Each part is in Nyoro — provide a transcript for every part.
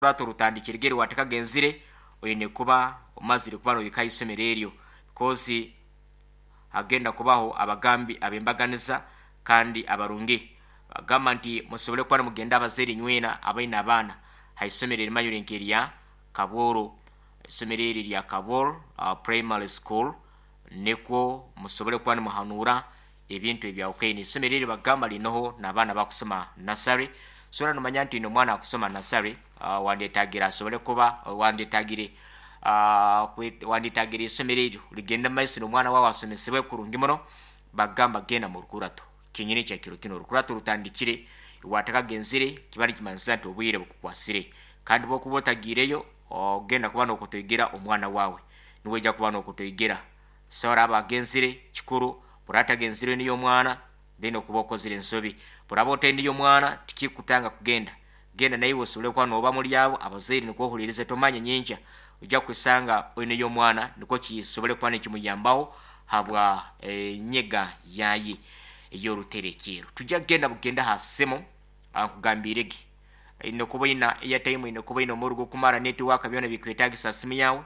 Orukurato rutandikire watakagenzire, oine kuba omazire kuba nohika isomero eryo, because hagenda kubaho abagambi abembaganiza kandi abarungi. Bagamba nti musobole kuba nimugenda abazaire nywena abaine abaana ha isomero erimanyirwe nk'erya Kabworo, isomero eri erya Kabworo Primary School, nikwo musobole kuba nimuhanuura ebintu ebyahukene. Isomero eri bagamba linoho n'abaana abakusoma nursery. Sobora nomanya nti oine omwana akusoma nursery, wandyetagire asobole kuba wandyetagire wandyetagire isomero eryo ligende mumaiso n'omwana wawe asomesebwe kurungi muno. Bagamba genda mu rukurato kinyini kya kiro kinu, orukurato rutandikire, watakagenzire kiba nikimanyisa nti obwire bukukwasire, kandi bwokuba otagiireyo ogenda kuba nokutoigera omwana wawe, niwe kuba nokutoigera. So oraba agenzire kikuru, buraba atagenzire niyo omwana, then okuba okozire ensobi. Buraba otaineyo omwana, tikikutanga kugenda, genda naiwe osobole kuba noba muri abo abazaire nikwo ohulirize. Tomanya nyenkya ojja kwesanga oineyo omwana, nikwo kisobole kuba nikimuyambaho habwa enyega yaye ey'oruterekero. Tujja kugenda bugenda ha simu, nkugambirege ine kuba oina airtime, ine kuba oina omurro gukumara, network, byona bikwetagisa simu yawe.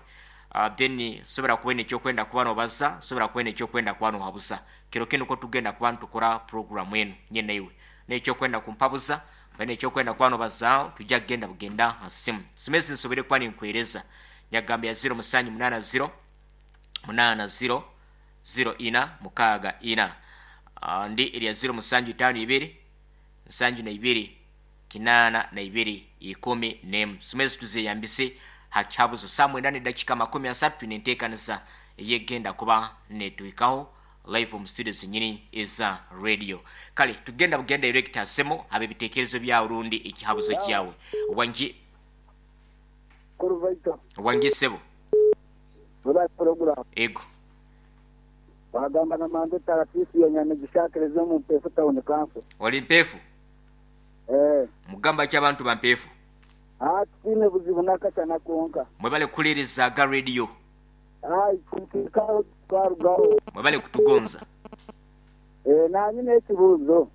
Then sobora kuba oine ekyokwenda kuba nobaza, sobora kuba oine ekyokwenda kuba nohabuza. Kiro kinu ko tugenda kuba nitukora program enu nye naiwe, nekyokwenda kumpabuza oine ekyokwenda kuba nobazaaho, tujja kugenda bugenda ha simu. Simu ezi nsobore kuba ninkuhereza nyagamba ya 0780 80 04 64, ndi erya 0752 72 82 11. Simu ezi tuzeyambise ha kihabuzo. Saa 9:30 twine enteekaniza eyegenda kuba netuhikaho live omu studio zenyini eza radio. Kale tugenda bugenda direct ha simu habe ebitekerezo byawe rundi ekihabuzo kyawe. Wangi. Kuruvaito. Wangi sebo. Webale program. Ego. Wagamba na Mande Tarasisi ya Nyamigisha Akereza omu Mpeefu Town Council. Oli Mpeefu? Eh. Mugamba ki abantu ba Mpeefu? Ah, titiine buzibu nakashana konka. Mwebale kukuliriza aga radio. Ai, tukarugaho twarugaho. Mwebale kutugonza. Eh, nanye n'ekibuuzo.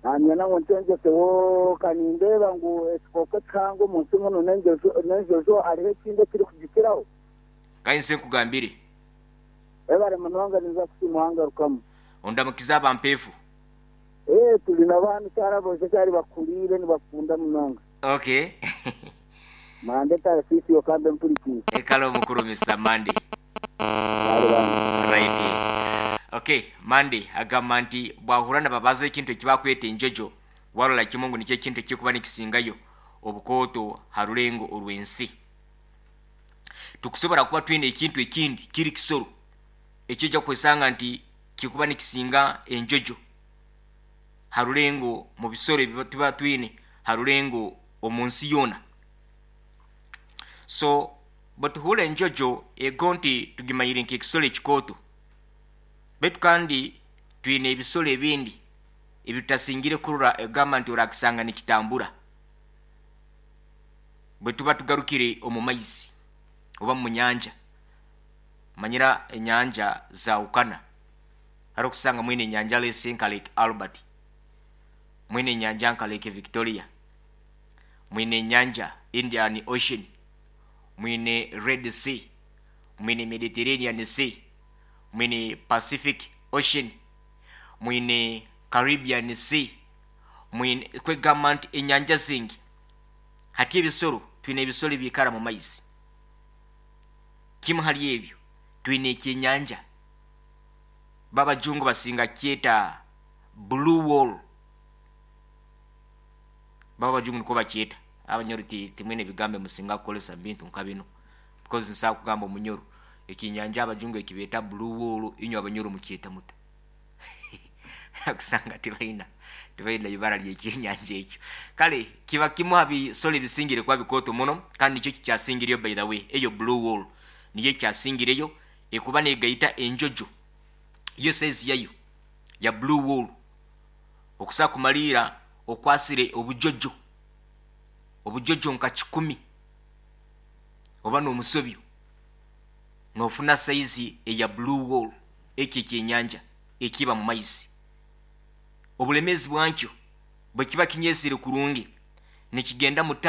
Nanye ngu nkyengyeseho kanindeeba ngu ekikooko ekihango omu nsi muno n'enjojo, hariho ekindi ekirikugikiraho? Kayinze nkugambire. Webale munonga, ninza kusiima wangarukamu. Ondamukize aba Mpeefu. Eh, turi na baana kyara bosha kyari bakuriire nibakunda munonga. Okay. Mande Tarasisi okambe mpurikiire. Ekale omukuru Mr. Mande. Bari bana. Right. Okay, Mande agamba nti bwahura nababaza ekintu ekibakweta enjojo, warola kimu ngu nikyo ekintu ekikuba nikisingayo obukooto ha rulengo orw'ensi. Tukusobora kuba twine ekintu ekindi kiri kisoro ekijja kwesanga nti kikuba nikisinga enjojo ha rulengo mu bisoro ebi tuba twine ha rulengo omu nsi yoona. So bwetuhura enjojo ego nti tugimanyire nk'ekisoro ekikooto, baitu kandi twine ebisoro ebindi ebitutasingire kurora egamba nti orakisanga nikitambura. Bwe tuba tugarukire omu maizi oba mu nyanja, manyira enyanja zaahukana. Hariho okusanga mwine enyanja lese nka Lake Albert, mwine enyanja nka Lake Victoria, mwine enyanja Indian Ocean, mwine Red Sea, mwine Mediterranean Sea, mwine Pacific Ocean, mwine Caribbean Sea, mwine kwegamba nti enyanja zingi. Hati ebisoro, twine ebisoro ebiikara mu maizi. Kimu hali ebyo twine ekyenyanja, babajungu basinga kyeta blue wall, babajungu nikwo bakyeta. Abanyoro timwine ebigambo musinga kukolesa bintu nka bino, because nsobola kugamba omunyoro ekinyanja abajungu ekibeeta blue wall, inywe abanyoro mukyeta muta? Kusanga tibaina ibara ly'ekyenyanja ekyo. Kale kiba kimu ha bisoro ebisingire kuba bikooto muno, kandi nikyo kikyasingireyo. By the way, eyo blue wall niyo ekyasingireyo ekuba negaita enjojo yo size yayo ya blue wall okusobola kumaliira okwasire obujojo obujojo nka 100 oba n'omusobyo, nofuna size eya blue wall. Ekyo ekyenyanja ekiba mu maizi, obulemezi bwankyo bwe kiba kinyezire kurungi. Nikigenda mutano.